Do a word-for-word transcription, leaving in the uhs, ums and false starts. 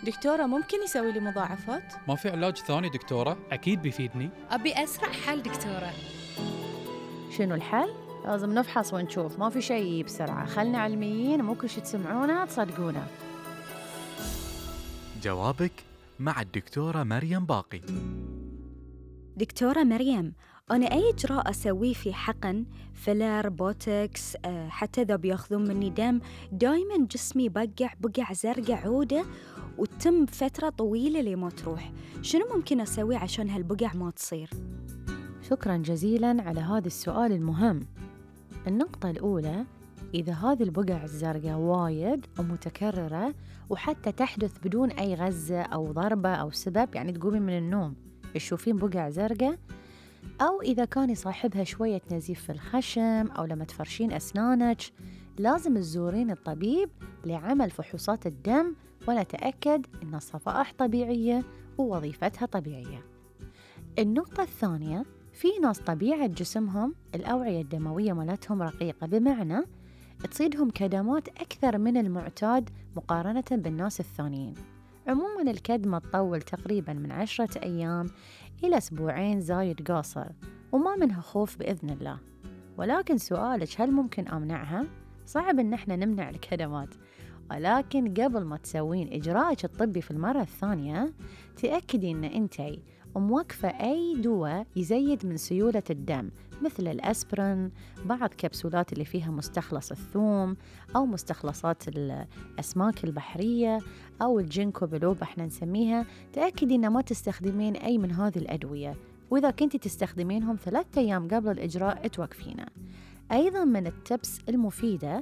دكتورة، ممكن يسوي لي مضاعفات؟ ما في علاج ثاني دكتورة؟ أكيد بيفيدني. أبي أسرع حل دكتورة. شنو الحل؟ لازم نفحص ونشوف، ما في شيء بسرعة. خلنا علميين، مو كل شي تسمعونه تصدقونه. جوابك مع الدكتورة مريم باقي. دكتورة مريم، أنا أي إجراء أسويه في حقن فيلر بوتوكس حتى إذا بياخذون مني دم دايماً جسمي بقع بقع زرقاء عودة وتتم فترة طويلة لما تروح. شنو ممكن أسوي عشان هالبقع ما تصير؟ شكراً جزيلاً على هذا السؤال المهم. النقطة الأولى، إذا هذه البقع الزرقاء وايد ومتكررة وحتى تحدث بدون أي غزة أو ضربة أو سبب، يعني تقومي من النوم تشوفين بقع زرقاء، أو إذا كان يصاحبها شوية نزيف في الخشم أو لما تفرشين أسنانك، لازم تزورين الطبيب لعمل فحوصات الدم ونتأكد أن الصفائح طبيعية ووظيفتها طبيعية. النقطة الثانية، في ناس طبيعة جسمهم الأوعية الدموية مالتهم رقيقة، بمعنى تصيدهم كدمات أكثر من المعتاد مقارنة بالناس الثانيين. عموماً الكدمة تطول تقريباً من عشرة أيام إلى أسبوعين زايد قاصر، وما منها خوف بإذن الله. ولكن سؤالك هل ممكن أمنعها؟ صعب إن احنا نمنع الكدمات، ولكن قبل ما تسوين إجراءك الطبي في المرة الثانية تأكدي إن أنتي موقفة أي دواء يزيد من سيولة الدم، مثل الأسبرين، بعض كبسولات اللي فيها مستخلص الثوم أو مستخلصات الأسماك البحرية أو الجينكو بلوب احنا نسميها. تأكدي إن ما تستخدمين أي من هذه الأدوية، وإذا كنتي تستخدمينهم ثلاثة أيام قبل الإجراء توقفينه. أيضا من التبس المفيدة